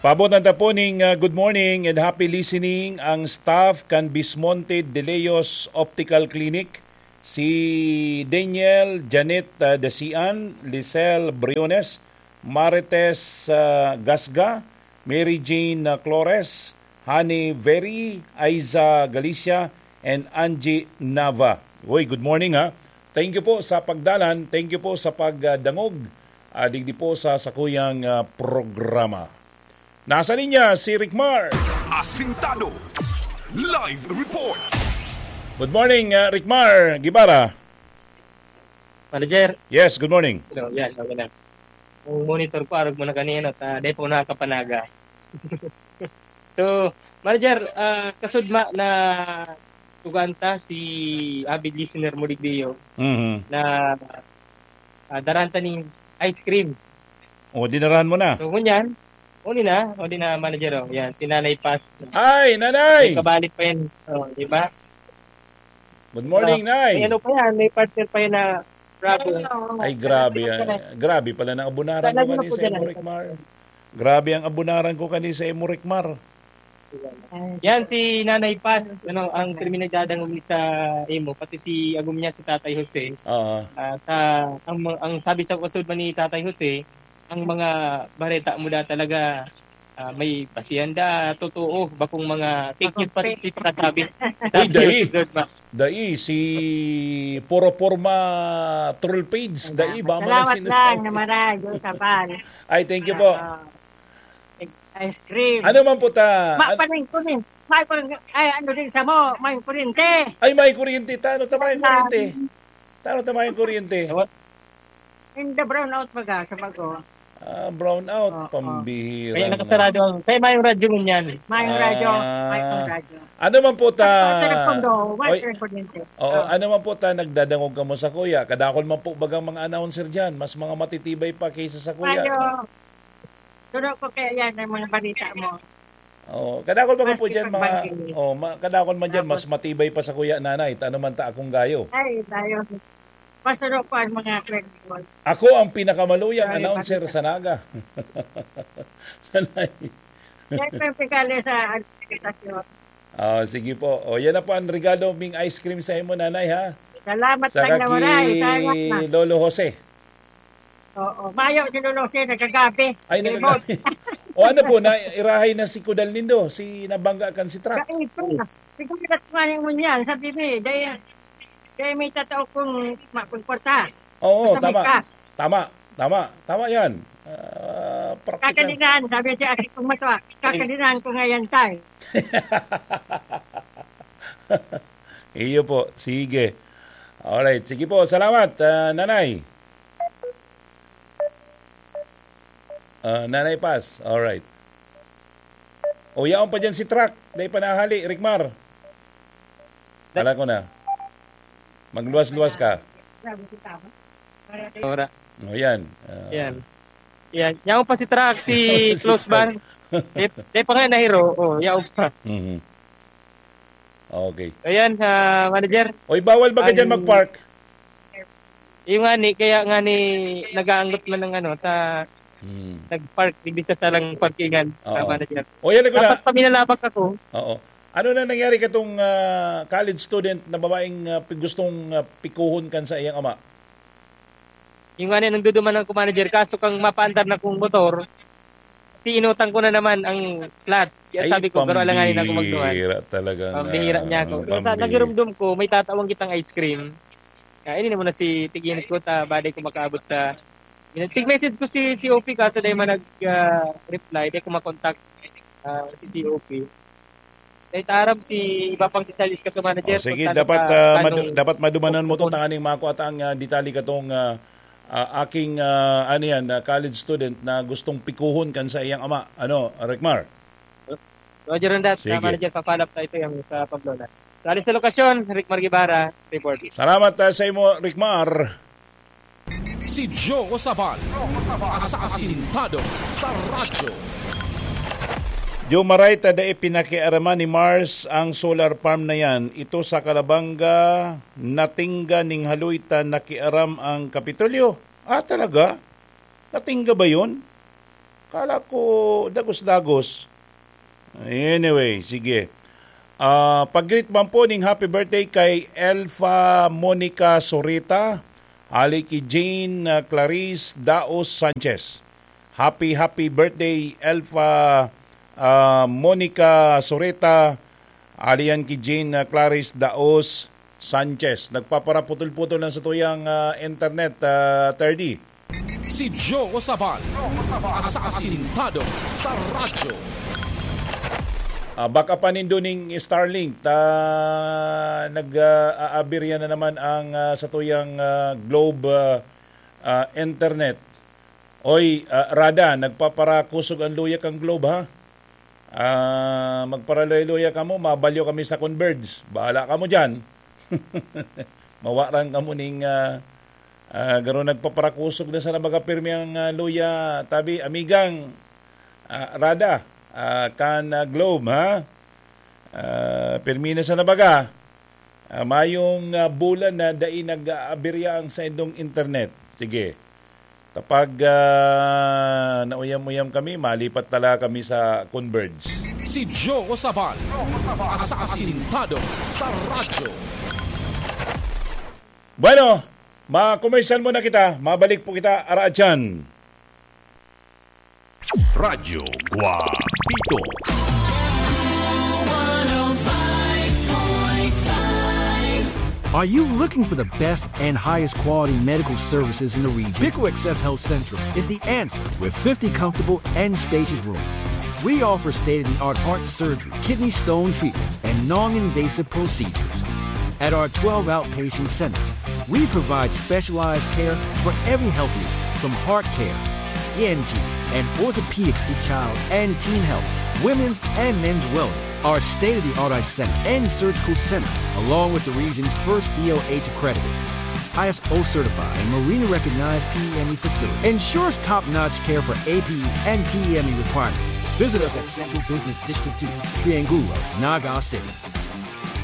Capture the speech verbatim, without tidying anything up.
Pabotan ta po ning, ah, good morning and happy listening ang staff kan Bismonte de Leos Optical Clinic, si Daniel, Janet, ah, Dasian, Lisel Briones, Marites, ah, Gasga, Mary Jane, ah, Flores, Honey Very, Aiza Galicia, and Angie Nava. Uy, good morning, ha. Thank you po sa pagdalan, thank you po sa pagdangog, ah, digdi po sa sakuyang, ah, programa. Nasa linya si Rickmar. Asintado. Live report. Good morning, ah, Rickmar Guevara. Manager. Yes, good morning. Hello, yan, okay na. Ang monitor ko, arog mo na kanina, ta, di pa ako nakakapanaga. So, Manager, ah, kasudma na tugaan ta si avid listener mo digdiyo Mhm. na, ah, daran ta ning ice cream. O, dinarahan mo na? So, ngunyan, uli na, uli na, Manager, oh. Yan, si Nanay Paz. Ay, Nanay! May kabalik pa yan. Oh, di ba? Good morning, Ah, Nay. may ano pa yan, may partner pa yan na bravo. Ay, grabe, Salamat ah, ka na. grabe pala ang abunaran ko Talaga kani po sa imo, dyan. Rickmar. Grabe ang abunaran ko kani sa imo, Rickmar. Yan si Nanay Paz, ano, ang krimen nagdadangog ni sa imo, pati si agom niya, si Tatay Jose. Oo. Ah, sa, ang, ang sabi sa kusod man ni Tatay Jose, ang mga bareta mo da talaga, ah, may basihan da, totoo, bakong mga fake news pa si pagkasabi. Uy, dai. Tatay Jose Zerma. Dai, si Puro Porma Troll Page, dai, ba man ang Salamat sinasabi? lang na maray, Diyos, Abal. Ay, thank you po. Oo. Ice cream. Ano man po ta-, Ma-, an- paning kunin. May kurin-, ay, ano din sa mo, may kuryente. Ay, may kuryente. Tano ta may Ah. kuryente? Tano ta may kuryente? Ewan. In the brownout baga, sa bago. Ah, brownout, Oo. pambihira Kaya na. nakasarado ang, kaya mayong radyo ngunyan. Mayong radyo, Ah. mayong radyo. Ano man po ta-, Ang telepondo, may oy, kuryente. oo, Oo. ano man po ta nagdadangog kamo sa kuya? Kadakol man po bagang mga announcer diyan, mas mga matitibay pa kaysa sa kuya. Radyo. Suno ko kaya yan, ang mga balita mo. Oo, kadakol baga po Maski dyan, mga, pagbanggit. oh, ma-, kadakol man dyan, Tapos mas matibay pa sa kuya, nanay. Tano man ta akong gayo. Ay, tayo. Pasuno ko ang mga credit mo. Ako ang pinakamaluyang Sorry, announcer bakit? sa Naga. Nanay. Yan ang regalo sa Alcides. Oh, sige po. O, yan na po ang regalo ming ice cream sa imo, nanay, ha? Salamat Sa lang na maray. kaki Salamat na. Lolo Jose. Oo, mayo si Lolo Jose, nagagabi. Ay, Remote. nagagabi. O, ano po, na irahay na si Kudal nindo, si nabangga kan si truck? Sa April. Siguro na kumain mo niyan, sabi mo eh, dahil, dahil may tatao kong ma-, kong kwarta. Oo, Basta may tama. cash. Tama, tama, tama yan. Ah, practical. Kakalinan, sabi siya, "Aking kung matua, kakalinan ko ngayon, tay." Iyo po, sige. Alright, sige po, salamat, ah, Nanay. Ah, Nanay Paz, alright. O, yaon pa dyan si truck. Dai pa nahali, Rickmar. Kala ko na. Magluwas-luwas ka. Ora. O, yan. Ah. Yan. Yan. Yaon pa si truck, si Si close truck. bar. Di, di pa nga nahiro. Oh, yaon pa. Mhm. Okay. Ayan, ah, manager. Oy, bawal ba ka dyan Ang mag-park? Yung nga ni, kaya nga ni, nag-aanggot man ng ano, ta, Hmm. nag-park, di bisa sa lang parkingan, Oo. ah, manager. O, yan, ako na. Dapat paminalabak ako. Oo. Ano na nangyari katong, ah, college student na babaeng, ah, pi-, gustong, ah, pikuhon kan sa iyang ama? Yung nga ni, nagduduman ako, manager, kaso kang mapaandar na kong motor, si inutang ko na naman ang flat. Kaya Ay, sabi ko, "Pero alanganin ako magduman." pambihira talaga Pambihira na, niya ako. Kaya sa pambihira. nagirumdom ko, may tatawang kitang ice cream. Kaya ini naman na si Tiginit ko, ta, baday ko makaabot sa, tig-message ko si, si O P, kaso dahil man nag, ah, reply, di ko makontak, ah, si C O P. Dahil ta aram si iba pang detalles ka to, manager, Oh, sige, kung saan dapat, ka, ah, madu-, anong dapat madumanan mo to, pupun- tanganing mako at ang, ah, detalye katong, ah, ah, aking, ah, ano yan, ah, college student na gustong pikuhon kan sa iyang ama. Ano, Rickmar? Roger on that, Sige. ah, manager, papalap tayo ito yung sa Pamplona. Dali sa lokasyon, Rickmar Guevara, reporting. Salamat, ah, sa imo, Rickmar. Si Joe Sabal, asasintado sa radyo. Joe, maray ta dai pinakiaraman ni Mars ang solar farm na yan. Ito sa Calabanga, natingga ning haloy ta nakiaram ang Kapitolyo. Ah, talaga? Natingga ba yun? Kala ko dagos-dagos. Anyway, sige. Ah, pag-greet man po ning happy birthday kay Elfa Monica Soreta, ali ki Jane, ah, Clarice Daos Sanchez. Happy, happy birthday, Elfa, ah, Monica Soreta, ali yan ki Jane, ah, Clarice Daos Sanchez. Nagpaparaputol-putol lang sa tuyang, ah, internet, ah, Terdy. Si Joe Sabal, asasintado sa radyo. Ah, baka pa nindo ning Starlink, ta nag, ah, aaberya na naman ang, ah, satuyang, ah, Globe, ah, ah, internet. Oy, ah, Rada, nagpaparakusog ang luya kang Globe, ha? Ah, magparaluya-luya kamo, mabalyo kami sa Converge. Bahala kamo diyan. Mawaran kamo ning, ah, ah, garo nagpaparakusog na sa nabagapirmi ang, ah, luya. Tabi, amigang, ah, Rada, ah, kan, ah, Globe, ha? Ah, pirmi na sa nabaga. Ah, mayong, ah, bulan na dai nag-aaberya ang saindong internet. Sige. Kapag, ah, nauyam-uyam kami, malipat tala kami sa Converge. Si Joe Sabal, asasintado sa radyo. Bueno, ma-commercial muna kita. Mabalik po kita, ara dyan. Radyo Guapito. Are you looking for the best and highest quality medical services in the region? Pico Access Health Central is the answer with fifty comfortable and spacious rooms. We offer state-of-the-art heart surgery, kidney stone treatments, and non-invasive procedures. At our twelve outpatient centers, we provide specialized care for every health need, from heart care, E N T, and orthopedics to child and teen health, women's and men's wellness. Our state-of-the-art eye center and surgical center, along with the region's first D O H accredited I S O certified and Marina recognized P E M E facility, ensures top-notch care for A P E and P E M E requirements. Visit us at Central Business District two, Triangulo, Naga City.